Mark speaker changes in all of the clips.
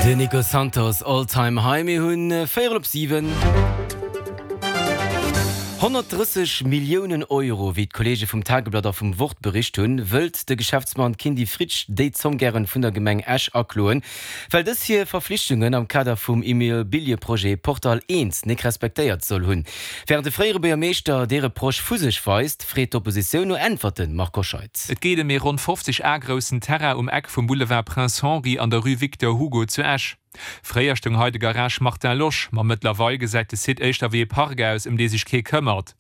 Speaker 1: Den Nico Santos, All Time High. Mir hunn véierel op 7. 130 Milliounen Euro, wéi d'Kolleege vum Tageblatt a vum Wort bericht hunn, wëllt de Geschäftsmann Kindy Fritsch déi Zomm gären vun der Gemeng Esch akloen, well dës hir Verflichtungen am Kader vum Immobilieprojet Portal I nik respektéiert soll hunn. Wärend de fréiere Buergermeeschter dee Reproche vu sech weist, freet d'Oppositioun no Äntwerten, Marc Hoscheid.
Speaker 2: Et geet ëm ee ronn 50 Ar groussen Terrain um Eck vum Boulevard Prince Henri an der Rue Victor Hugo zu Esch. Fréier stoung hei de Garage Martin Losch, ma mëttlerweil gesäit de Site éischter wéi ee Park aus, ëm dee sech kee këmmert.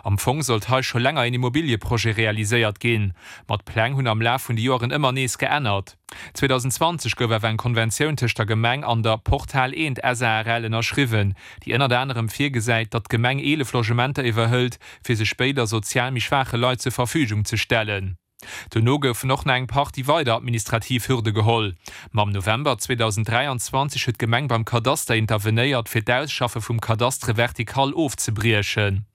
Speaker 2: Am Fong sollt hei scho länger een Immobilieprojet realiséiert ginn, ma d'Pläng hunn am Laf vun de Joeren ëmmer nees geännert. 2020 gouf awer eng Konventioun tëscht der Gemeng an der Portal Eent SARL ënnerschriwwen, déi ënnert anerem virgesäit, datt d'Gemeng 11 Logementer iwwerhëlt, fir se spéider sozial méi schwaache Leit zur Verfügung ze stellen. Dono goufen och nach eng Partie weider administrativ Hürde geholl. Ma am November 2023 huet d'Gemeng beim Kadaster intervenéiert, fir d'Ausschaffe vum Cadastre vertical ofzebriechen.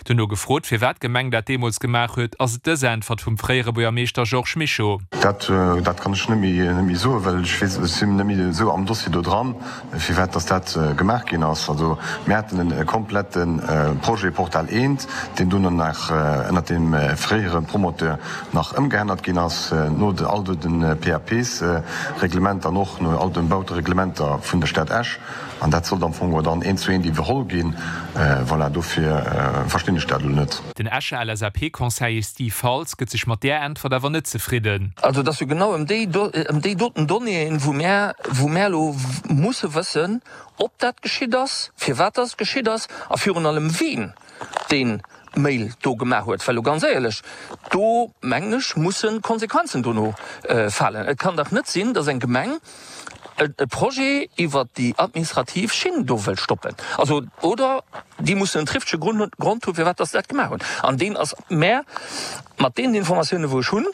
Speaker 2: Dono gefrot, firwat d'Gemeng dat deemools gemaach huet, ass et dës Äntwert vum fréiere Buergermeeschter Georges Mischo.
Speaker 3: Dat kann ech net méi soen, well ech weess, ech sinn net méi esou am Dossier do dran, firwat dass dat gemaach ginn ass. Also mir haten e komplette Projet Portal I, deen dunn nach ënnert deem fréiere Promoteur nach ëmgeännert ginn ass, no all de PAPs-Reglementer an och no all de Bautereglementer vun der Stad Esch. An dat sollt am Fong och dann eent zu eent iwwerholl ginn. Voilà, dofir verstinn ech dat elo net.
Speaker 2: Den Escher LSAP-Conseiller Steve Faltz gëtt sech mat där Äntwert awer net zefridden.
Speaker 4: Also et ass jo genau ëm déi ëm déi doten Donnéeën, wou mär wou mär elo musse wëssen, ob dat geschitt ass, firwat dass et geschitt ass a virun allem ween dee Mail do gemaach huet. Well elo ganz éierlech, do mengen ech musse Konsequenzen dono falen. Et kann dach net sinn, dass eng Gemeng e Projet iwwert déi administrativ Schinn do wëllt stoppen. Also, oder déi mussen en trifftege Grond hunn, firwat dass se dat gemaach hunn. An deen ass mär mat deenen Informatiounen, wou ech hunn,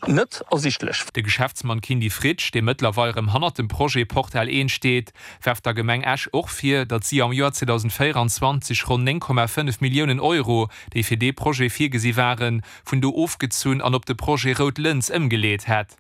Speaker 4: net ersichtlech.
Speaker 2: De Geschäftsmann Kindy Fritsch, dee mëttlerweil erëm hannert dem Projet Portal 1 steet, werft der Gemeng Esch och vir, datt si am Joer 2024 ronn 9,5 Milliounen Euro, déi fir dee Projet virgesi waren, vun do ofgezunn an op de Projet Rout Lëns ëmgeleet hätt.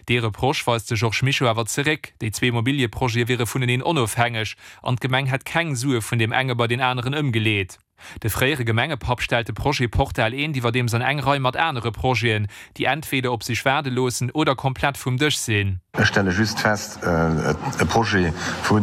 Speaker 2: Dee Reproche weist de Georges Mischo awer zeréck, déi zwee Immobilieprojete wiere vuneneen onofhängeg an d'Gemeng hätt keng Sue vun deem enge bei deen aneren ëmgeleet. De fréiere Gemengepapp stellt de Projet Portal Eent iwwerdeems an eng Rei mat anere Projeten, déi entweder op sech waarde loossen oder komplett vum Dësch sinn.
Speaker 3: Ech stelle just fest, e Projet vu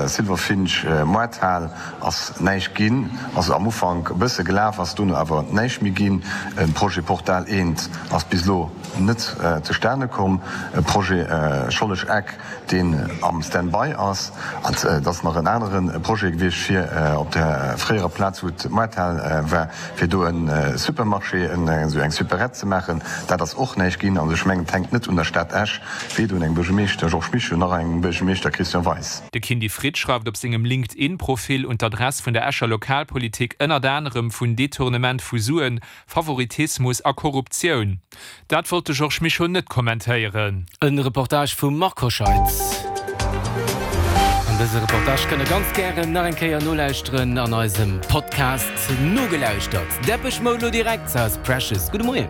Speaker 3: Silver Finch Moarthal ass näischt ginn, ass am Ufank e bësse gelaf, ass dono awer näischt méi ginn. E Projet Portal Eent ass bis elo net zustane komm. E Projet Schollesch Eck, deen am Stand-by ass. An et ass nach en anere Projet gewiescht, fir op der fréierer Plaz, wou d'Moarthal war, fir do e Supermarché, esou eng Superette ze maachen. Dat ass och näischt ginn. Also ech mengen, et hänkt net un der Stad Esch, weder un engem Buergermeeschter Georges Mischo nach engem Buergermeeschter Christian Weis.
Speaker 2: De Kindy Fritsch schreift op sengem LinkedIn-Profil un d'Adress vun der Escher Lokalpolitik ënnert anerem vun Detournement vu Suen, Favoritismus a Korruptioun. Dat wollt de Georges Mischo net kommentéieren.
Speaker 1: E Reportage vum Marc Hoscheid. An dëse Reportage kënnt der ganz gären nach eng Kéier nolauschteren an eisem Podcast Nogelauschtert. Depeche Mode lo direkt, South Precious. Gudde Moien.